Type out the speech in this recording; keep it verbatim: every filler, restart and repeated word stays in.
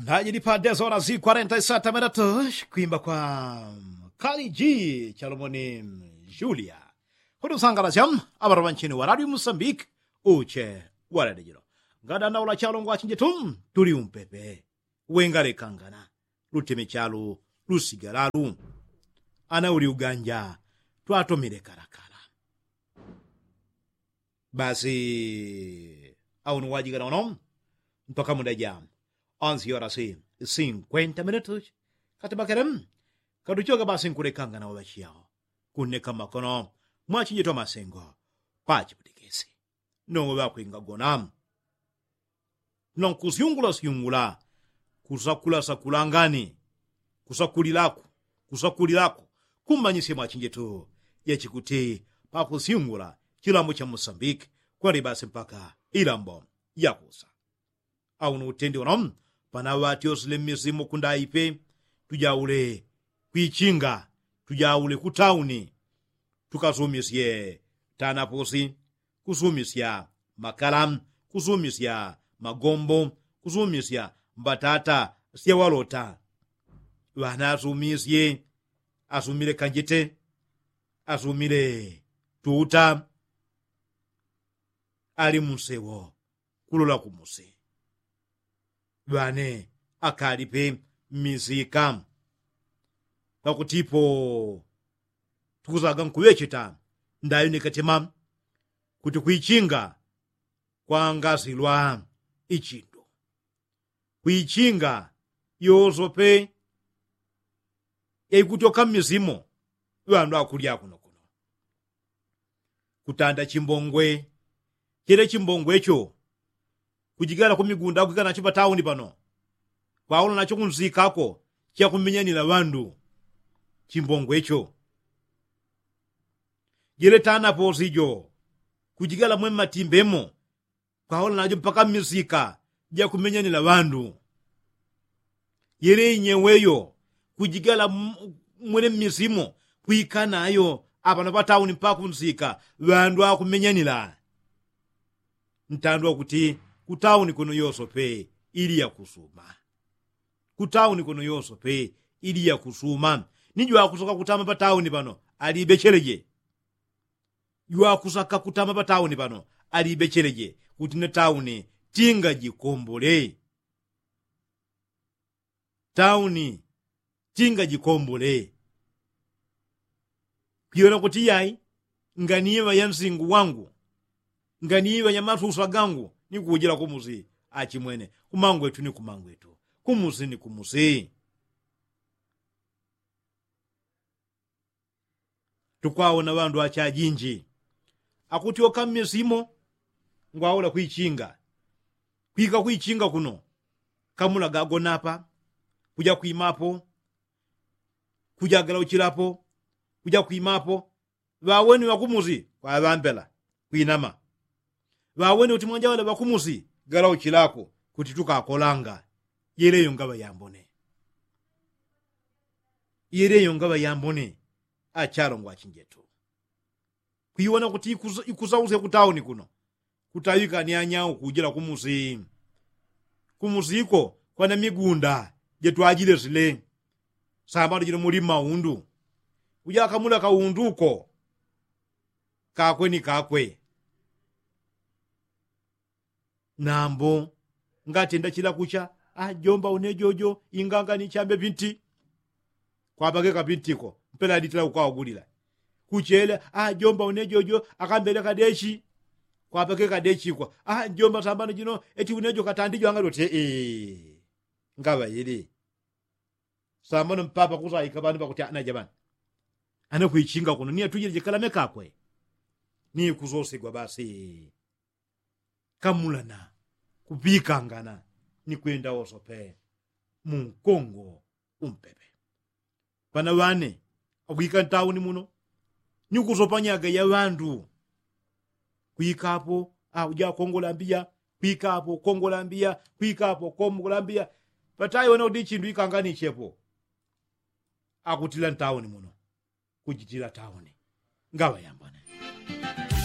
Ndajili pa dez horas i kwarenta i sata minutos kwimba kwa kaliji chalomoni julia. Kuti usangalasya aŵaroŵa nchini wa radio musambiki uche wa radio jilo. Ngadandaula chalongo achinjetu tuli umpepe wengalekangana luteme chalu lusigalalu. Ana uli uganja twatomile kalakala. Basi aunu wajigana uno mpaka muda ja onsi yorasi sinkwenta minutu. Kati bakele katuchoka basi nkulekangana waŵachiyao kuneka makono mwachinjitwa masengo pachiputikisi. Nowo ŵakwingagona nonkusyungulasyungula kusakulasakula ngani kusakulilaku kusakulilaku kumanyisya mwachinjetu yachikuti pakusyungula chilambo cha musambiki kwali basi mpaka ilambo yakusa. Auno utendi uno pana ŵatyosile mmisimu kundaipe tujaule kwichinga tujaule kutauni tukasumisye tanapusi kusumisya makala kusumisya magombo kusumisya mbatata syawalota. Ŵana asumisye asumile kanjite asumile tuta ali munsewo kulola kumusi. Ŵane akalipe mmisika kwakutipo tukusaga nkuŵecheta ndayo nikatema kuti kwichinga kwangasilwa ichindu kwichinga yosope yaikutyoka mmisimo ŵandu akulya kuno kuno kutanda chimbongwe chele chimbongwe cho kujigala kumigunda kwika nacho patauni pano kwaula nacho kunsikako chakumenyanila ŵandu. Chimbongwe cho jele tanaposi jo kujigala mwe mmatimbemo kwaula najo mpaka mmisika jakumenyanila ŵandu. Yele inyeweyo kujigala mwele mmisimo kwika nayo apano patauni mpaka kunsika ŵandu akumenyanila. Ntandwa kuti kutauni kuno yosope ili yakusuma kutauni kuno yosope ili yakusuma. Ni jwakusoka kutama patauni pano alibecheleje jwakusaka kutama patauni pano alibecheleje kuti ne tauni tingajikombole. Tauni tingajikombole kwiyona kuti yai nganiŵa ya nsingu wangu nganiŵa ya masusa gangu ni kujila kumusi. Achimwene kumangwetu ni kumangwetu kumusi ni kumusi. Tukwaona ŵandu achajinji akutyoka mmisimo ngwaula kwichinga kwika kwichinga kuno kamula gagonapa kuja kwimapo kuja galauchilapo kuja kwimapo. Ŵaweni ŵakumusi kwaŵambela kwinama ŵaweni kuti mwanja ŵale ŵakumusi galauchilako kuti tukakolanga. Yeleyo ngaŵa yambone yeleyo ngaŵa yambone. Achalongwa achinjetu kwiwona kuti ikusausya kutauni kuno kutaŵika ni anyau kujila kumusi. Kumusiko kwana migunda jetwajilesile sambano jino muli mmaundu kuja akamula kaunduko kakwe ni kakwe. Nambo ngatenda chila kucha ajomba une jojo inganga ni chambe pinti kwapake kapintiko mpela aditila kukawagulila. Kuchele ajomba une jojo akambele kadechi kwapake kadechikwa ajomba sambano jino eti une jo katandi jwanga lote. Ngaŵa ili sambano mpapa kusaika ŵandu ŵakuti ana jabana ana kwichinga kuno ni atujile jikalame kakwe. Ni kusosigwa basi kamulana kuŵikangana ni kwenda woso pe mu nkongo umpepe. Ŵana ŵane akwika ntauni muno ni kusopanyaga ya ŵandu kwikapo au ja kongola mbiya kwikapo kongola mbiya kwikapo kongola mbiya. Ŵatayi ŵana kuti ichindu ikanganichepo akutila ntauni muno kujitila tauni. Ngaŵa yambone